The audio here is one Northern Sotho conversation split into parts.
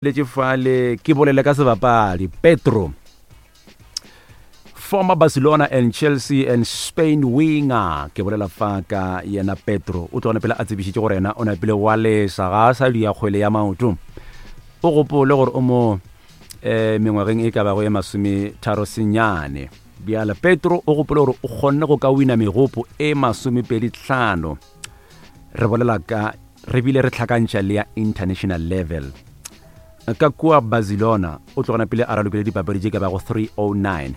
Letše fale ke bolele ka sebapadi Pedro, former Barcelona and Chelsea and Spain winger. Ke bolela fa ka yena Pedro, o tlogane pele a tsebišitše gore yena o napile wa lesa, ga a sa dia kgwele ya maoto. O gopole gore o mo um mengwageng e ka bago e masometharo senyane. Bjale Pedro o gopole gore o kgonne go ka wina megopo e masomepedi tlhano, re bolela ka re bile re hlakantšha le ya international level. Ka kua Barcelona o tlogana pele a ralokile dipapadi tše ka bago 309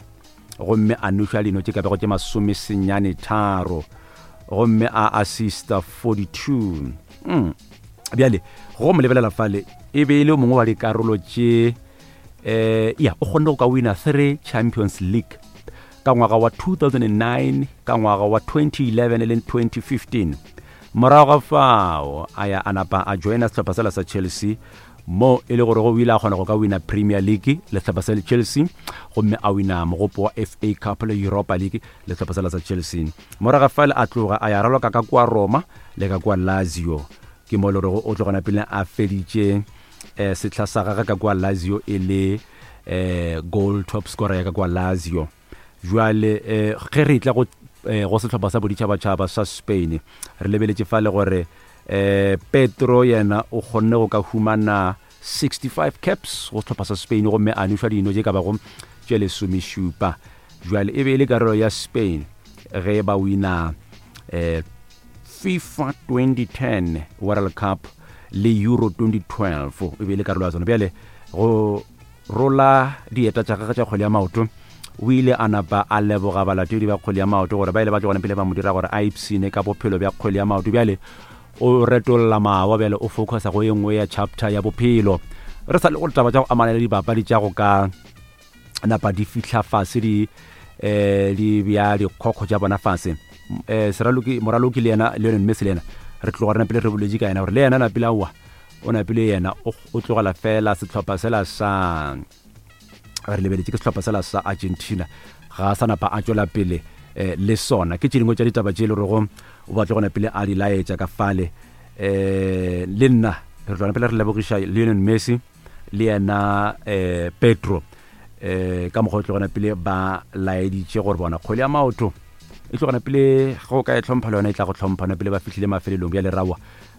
gomme a noša dino tše ka bago tše 83 gomme a assista 42. Bjale go mo lebelela fale e be e le mongwe wa dikarolo tše ya o kgonne go ka wina 3 Champions League ka ngwaga wa 2009, ka ngwaga wa 2011 le 2015. Morago ga fao a ya a napa a joina sehlopha sela sa Chelsea, mo e le gore go ile a kgona go ka wina Premier League le sehlopha sa Chelsea, gomme a wina mogopo wa FA Cup le Europa League le sehlopha sela sa Chelsea. Morago ga fale a tloga a ya raloka ka kua Roma le ka kua Lazio, ke mo e le gore o tlogana pele a feditše sehla sa gagwe ka kua Lazio e le goal top scorer ya ka kua Lazio. Jwale ge re tla go go sehlopha sa boditšhabatšhaba sa Spain, re lebeletše fale gore Pedro yena o kgonne go ka humana 65 caps go sehlopha sa Spain gomme a nošwa dino tše ka bago tše lesomešupa. Jwale e be e le karolo ya Spain ge ba wina FIFA 2010 World Cup le Euro 2012, e be e le karolo ya tsona. Bjale go rola dieta tša gagwe tša kgwele ya maoto, o ile a napa a leboga balatedi ba kgwele ya maoto gore ba ile ba tlogana pele ba mo dira gore a ipshine ka bophelo bja kgwele ya maoto. Bjale o retolla mawa, bjale o focusa go ye nngwe ya chapter ya bophelo. Re sa le go taba tša go amana le dipapadi tša go ka napa di fihla fase di di bja dikgokgo tša bona fase. Seraloki moraloki le yena Lionel Messi le yena re tloga re napile re boletše ka yena gore le yena napile aowa o napile yena o tlogela fela sehlopha sela sa re lebeletše ke sehlopha sela sa Argentina, ga a sa napa a tšwela pele le sona. Ke tše dingwe tša ditaba tše e le gorego o batla go napile a di laetša ka fale. Le nna re tloga napile re lebogiša Lionel Messi le yena Pedro ka mokgwa o tlogana pele ba laeditše gore bona kgwele ya maoto e tlogana pele ge o ka e hlompha le yona e tla go hlompha na pele ba fihlile mafelelong. Bjale rawa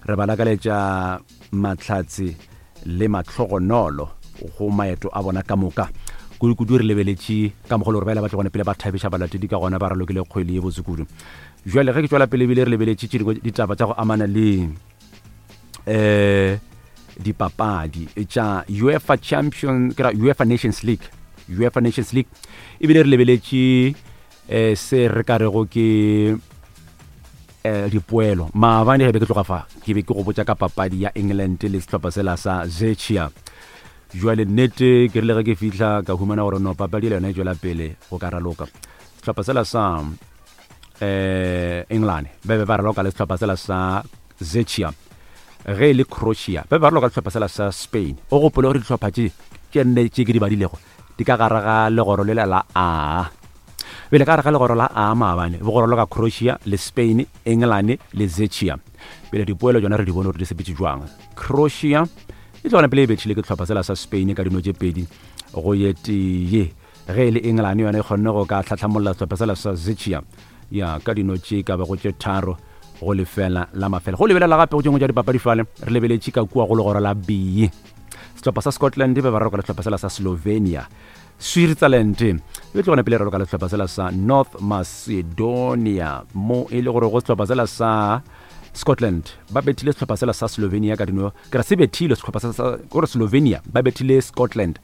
re ba lakaletša mahlatse le mahlogonolo go maeto a bona ka moka, kudu-kudu re lebeletše ka mokgwa le gore ba ile ba tlogana pele ba thabiša balatedi ka gona ba ralokile kgwele ye botse kudu. Jwale ge ke tšwela pele ebile re lebeletše tše dingwe ditaba tša go amana le dipapadi tša UEFA Champion ke ra UEFA Nations League, UEFA Nations League ebile re lebeletše se re ka rego ke dipoelo. Maabane ge be ke tloga fa ke be ke go botša ka papadi ya England le sehlopha sela sa Czechia. Jwale nnete ke rile ge ke fihla ka humana gore no papadi le yona e tšwela pele go ka raloka. Sehlopha sela sa England ba be ba raloka le sehlopha sela sa Czechia, ge e le Croatia ba be ba raloka le sehlopha sela sa Spain. O gopole gore dihlopha tše tše nne tše ke di badilego di ka gare ga legoro lela la A. Bjale ka gare ga legoro la A maabane bo go raloka Croatia le Spain, England le Czechia. Bjale dipoelo tšona re di bone gore di sepetše jwang. Croatia e tlogana pele e bethile ke sehlopha sela sa Spain ka dino tše 2 go ye tee. Ge e le England yona e kgonne go ka hlahlamolla sehlopha sela sa Czechia ya ka dino tše ka bago tše 3 go lefela la mafela. Go lebelela gape go tše dingwe tša dipapadi fale re lebeletše ka kua go legoro la B. Sehlopha sa Scotland be ba raloka le sehlopha sela sa Slovenia. Switzerland e tlogana pele raloka le sehlopha sela sa North Macedonia, mo e le gore go sehlopha sela sa Scotland ba bethile sehlopha sela sa Slovenia ka dino, ke ra se bethile sehlopha sa gore Slovenia ba bethile Scotland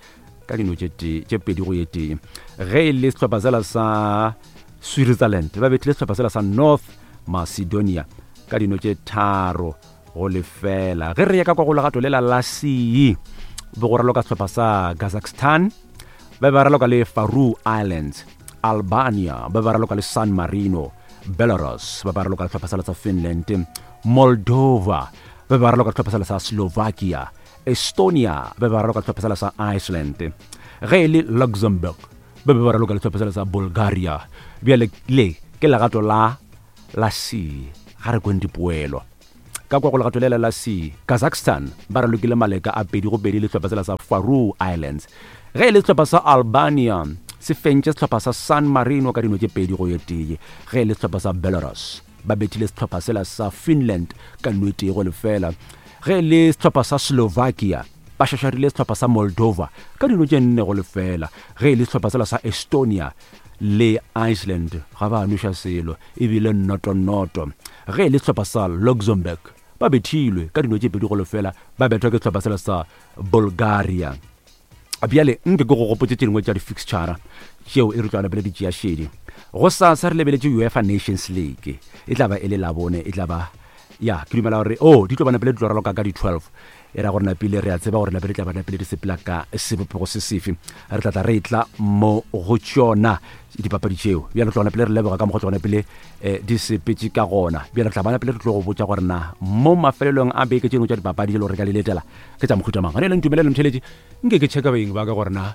ka dino tše tee tše 2 go ye tee. Ge e le sehlopha sela sa Switzerland ba bethile sehlopha sela sa North Macedonia ka dino tše 3 go lefela. Ge re ya ka kwa go legato lela la C, be go raloka sehlopha sa Kazakhstan ba be ba raloka le Faroe Islands, Albania ba be ba raloka le San Marino, Belarus ba ba raloka le sehlopha sela sa Finland, Moldova ba be ba raloka le sehlopha sela sa Slovakia, Estonia ba be ba raloka le sehlopha sela sa Iceland, ge e le Luxembourg ba be ba raloka le sehlopha sela sa Bulgaria. Bjale le ke legato la la C, ga re kweng dipoelo. Ka kwa go legato lela la C, Kazakhstan ba ralokile maleka a 2-2 le sehlopha sela sa Faroe Islands. Ge e le sehlopha sa Albania se fentše sehlopha sa San Marino ka dino tše 2-1. Ge e le sehlopha sa Belarus ba bethile sehlopha sela sa Finland ka nno e 1-0. Ge e le sehlopha sa Slovakia ba šašarile sehlopha sa Moldova ka dino tše 4-0. Ge e le sehlopha sela sa Estonia le Iceland ga ba nweša selo e bile noto-noto. Ge e le sehlopha sa Luxembourg ba bethilwe ka dino tše 2-0 ba bethwa ke sehlopha sela sa Bulgaria. Bjale nke ke go gopotše tše dingwe tša di-fixture tšeo e re tlo pele di tšea šedi. Gosasa re lebeletše UEFA Nations League, e tla ba e le Labone, e tla ba ya ke dumela gore oh di tlo ba napele di tlo raloka ka di-12 e ra gore napile re a tseba gore napele tla ba napele di sepela ka sebopego se sefe re tla tla re tla mo go tšona dipapadi tšeo bjale tlo napele re leboga ka mokgwa tlo napele eh, di sepetše ka gona bjale re tla ba napele re tlo go botša gore na mo mafelelong a beke tše dingwe tša dipapadi tše le gore re ka di letela ke tša mohuta mang gane le ntumelele mtheletše nke ke checka beng ba ka gore na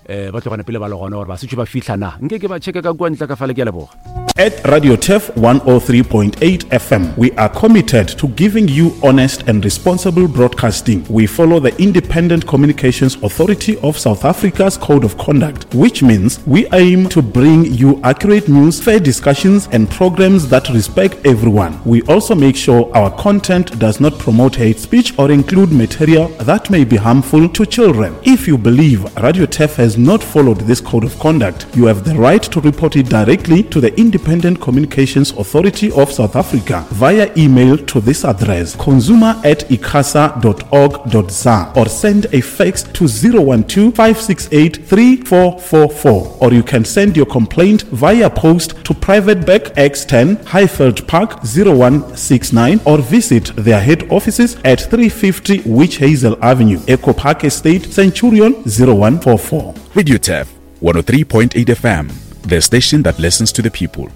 eh ba tlogane pele ba le gona gore ba setse ba fihla na nke ke ba checke ka kua ntle ka fale ke a leboga. At Radio Turf 103.8 FM, we are committed to giving you honest and responsible broadcasting. We follow the Independent Communications Authority of South Africa's Code of Conduct, which means we aim to bring you accurate news, fair discussions, and programs that respect everyone. We also make sure our content does not promote hate speech or include material that may be harmful to children. If you believe Radio Turf has not followed this code of conduct, you have the right to report it directly to the Independent Communications Authority of South Africa via email to this address consumer at icasa.org.za or send a fax to 012 568 3444 or you can send your complaint via post to Private Bag X10 Highveld Park 0169 or visit their head offices at 350 Witch Hazel Avenue, Echo Park Estate, Centurion 0144. Radio Turf 103.8 FM, the station that listens to the people.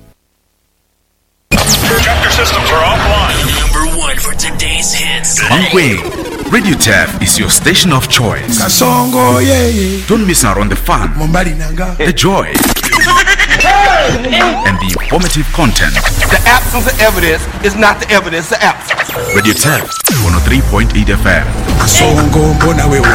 Projector systems are offline. Number one for today's hits. Mankweng. Radio Turf is your station of choice. Kasongo, yeah, yeah. Don't miss out on the fun, Mombali nanga. the joy, and the informative content. The absence of evidence is not the evidence of absence. Radio Turf 103.8 FM. Kasongo, mbona wewe.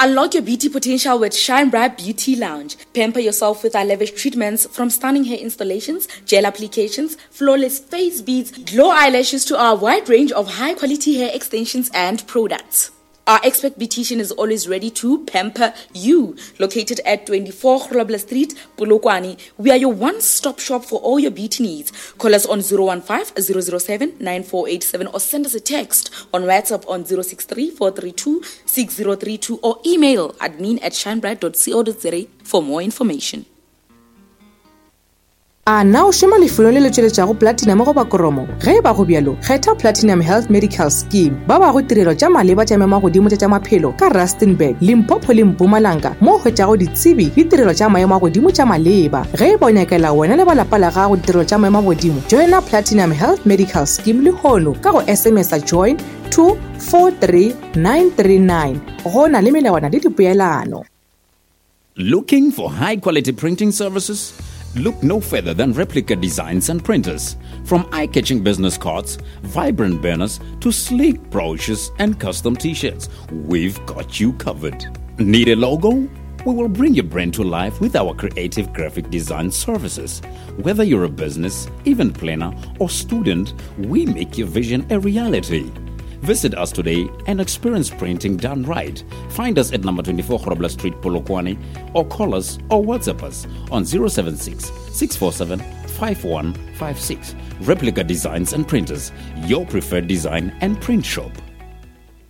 Unlock your beauty potential with Shine Bright Beauty Lounge. Pamper yourself with our lavish treatments from stunning hair installations, gel applications, flawless face beads, glow eyelashes to our wide range of high quality hair extensions and products. Our expert beautician is always ready to pamper you. Located at 24 Grobler Street, Polokwane, we are your one-stop shop for all your beauty needs. Call us on 015 007 9487 or send us a text on WhatsApp on 063 432 6032 or email admin at shinebright.co.za for more information. A na o šoma lefelong le le tšweletšago platinum goba kromo? Ge e ba go bjalo, kgetha Platinum Health Medical Scheme. Ba bago tirelo tša maleba tša maemo a godimo tša tša maphelo ka Rustenburg, Limpopo le Mpumalanga mo o hwetšago ditsebi le tirelo tša maemo a godimo tša maleba. Ge e ba o nyakela wena le ba lapa la gago ditirelo tša maemo a godimo, joina Platinum Health Medical Scheme lehono ka go SMS-a join to 43939. Go na le melawana le dipoelano. Looking for high quality printing services? Look no further than Replica Designs and Printers. From eye catching business cards, vibrant banners, to sleek brochures and custom t shirts, we've got you covered. Need a logo? We will bring your brand to life with our creative graphic design services. Whether you're a business, event planner, or student, we make your vision a reality. Visit us today and experience printing done right. Find us at number 24 Grobler Street, Polokwane, or call us or WhatsApp us on 076 647 5156. Replica Designs and Printers, your preferred design and print shop.